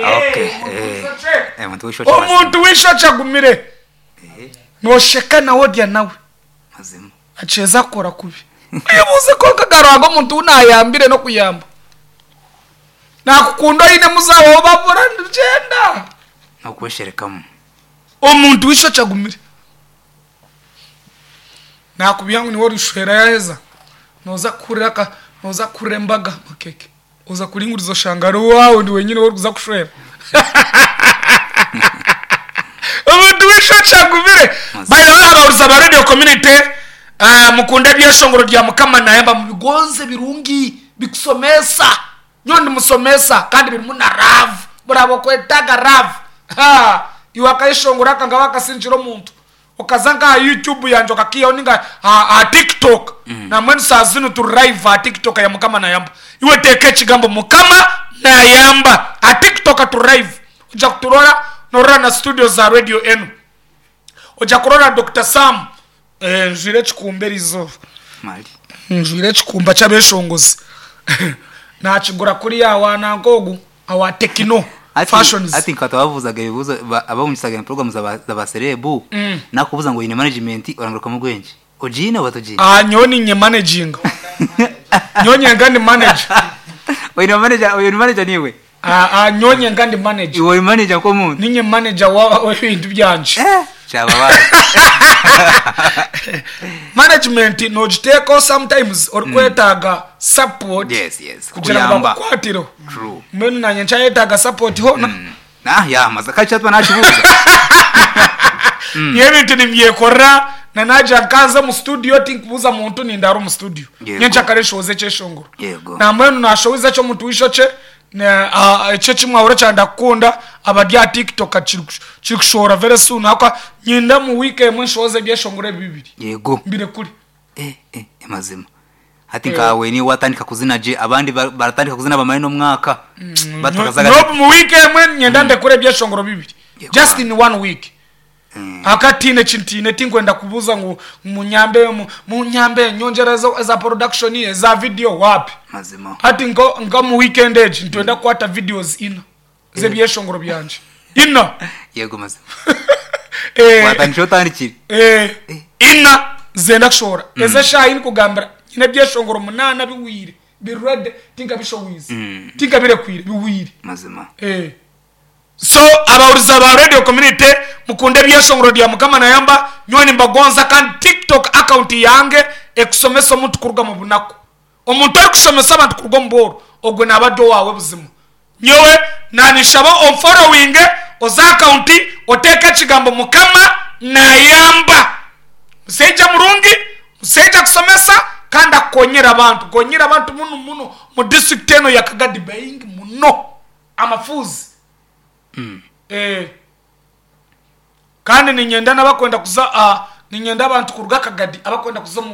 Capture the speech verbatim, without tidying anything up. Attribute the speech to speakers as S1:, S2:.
S1: Okay, eh, eh, omuntu w'eishokye mazima.
S2: Omuntu w'eishokye agumire.
S1: Eh,
S2: Nosheka nawe, orya nawe.
S1: Mazima.
S2: Akyeza kukora kubi, oyebuuze konka garuhanga omuntu ou nayambire n'okuyamba nakukunda, oine muzaawaho babura nigyenda.
S1: N'okwesherekamu.
S2: Omuntu w'eishokye agumire, nakubya ngu niwe orishwera, yaheza noza kuhurira ka noza kuhurira embaga makeke, oza kuringuriza oshanga ari waawe ndi wenyine orikuza kushwera. Omuntu w'eishokye agumire. By the way, abahuriza ba Radio Community, uh, mukunda ebyeshongoro rya Mukama Nayamba, mubigonze, birungi bikusomesa. Nyowe ndi musomesa kandi birimu na love. Buraba okwetaga love. Ha, iwe akayeshongora aka nga wakasingira omuntu, okaza nka aha YouTube yanje okakiihaho ninga aha aha TikTok. Namwenu saa zinu turi live aha TikTok ya Mukama Nayamba. Iwe teeka ekigambo Mukama Nayamba aha TikTok, turi live, ojja kuturora. Norora na studio za radio enu, ojja kurora Doctor Sam. eh, njwire ekikumba erizooba.
S1: Mali.
S2: Njwire ekikumba ky'abeshongozi, nakigura kuriya wananka ogu awa Tekino
S1: Ati-
S2: Fashions.
S1: Ati nkata babuzaga ebibuzo ba- abawungisaga program za ba- za baserebu,
S2: Mm.
S1: nakubuza ngo yine management, orangaruka mu bwenge ojine oba tojine?
S2: Ah, nyowe ninye managinga, nyowe nyenga ndi manager.
S1: Oyine manager, oyine manager niwe?
S2: Ah, ah, nyowe nyenga ndi manager.
S1: Iwe uri manager ko muntu?
S2: Ninye manager wa w'ebintu byanje.
S1: Eh, cyaba bazi.
S2: Management nogiteekaho sometimes orikwetaaga support
S1: yes yes
S2: kugira ngu
S1: Kuyamba.
S2: bakukwatireho.
S1: True.
S2: Mbwenu nanye nkyayetaaga support hoona.
S1: Mm. Ah, ya maza kachi atwa nakibuza.
S2: Niyo ebintu nibyekorera na nagira nkaza omu studio, tinkubuuza muntu, nindara omu studio.
S1: Yego.
S2: Nyenkyakare nshohoze ekyeshongoro.
S1: Yego.
S2: Nambwenu nashohoza eky'omuntu w'eishokye na- ah, ekyo ekimwahura kyandakukunda. Abari aha TikTok kiri- kirikushohora very soon. Ahabw'okuba nyenda mu wiiki emwe nshohoze ebyeshongoro ebi bibiri.
S1: Yego.
S2: Mbirekure.
S1: eh eh mazima, hati nkawe ni watandika kuzina je, abandi ba- baratandika kuzina bamare n'omwaka batakazaga.
S2: Nobu mu wiiki emwe nyenda ndekure ebyeshongoro bibiri.
S1: Yego.
S2: Just in one week.
S1: Mm.
S2: Akatiine kintiine, tinkwenda kubuuza ngu munyambe, mu- munyambe nyongyera ezo- eza production, eza video, wapi.
S1: Mazima.
S2: Hati nko nka mu weekend egi nitwenda kukwata videos ina z'ebyeshongoro byanje ina.
S1: Yego, mazima.
S2: Eh,
S1: watandika otandikire.
S2: eh, ina zenda kushohora ez'eshaaha nikugambira nyine ebyeshongoro munaana biwire, biri ready, tinkabishowize, tinkabirekwire, biwire.
S1: Mazima.
S2: Eh. So abahuriza ba Radio Community, mukunde ebyeshongoro rya Mukama Nayamba. Nyowe nimbagonza. Kandi TikTok account yange ekusomesa omuntu kuruga mu bunaku. Omuntu arikushomesa abantu kuruga omu bworo, ogwe naba ari owawe buzima. Nyowe nanishaba omfollowinge, oza account oteeke ekigambo Mukama Nayamba. Musaija murungi, musaija kusomesa kandi akukonyera abantu, konyera abantu muno muno mu district eno ya Kagadi, baingi muno amafuzi. Eh, kandi ninyenda n'abakwenda kuza, ah, ninyenda abantu kuruga Kagadi abakwenda kuza mu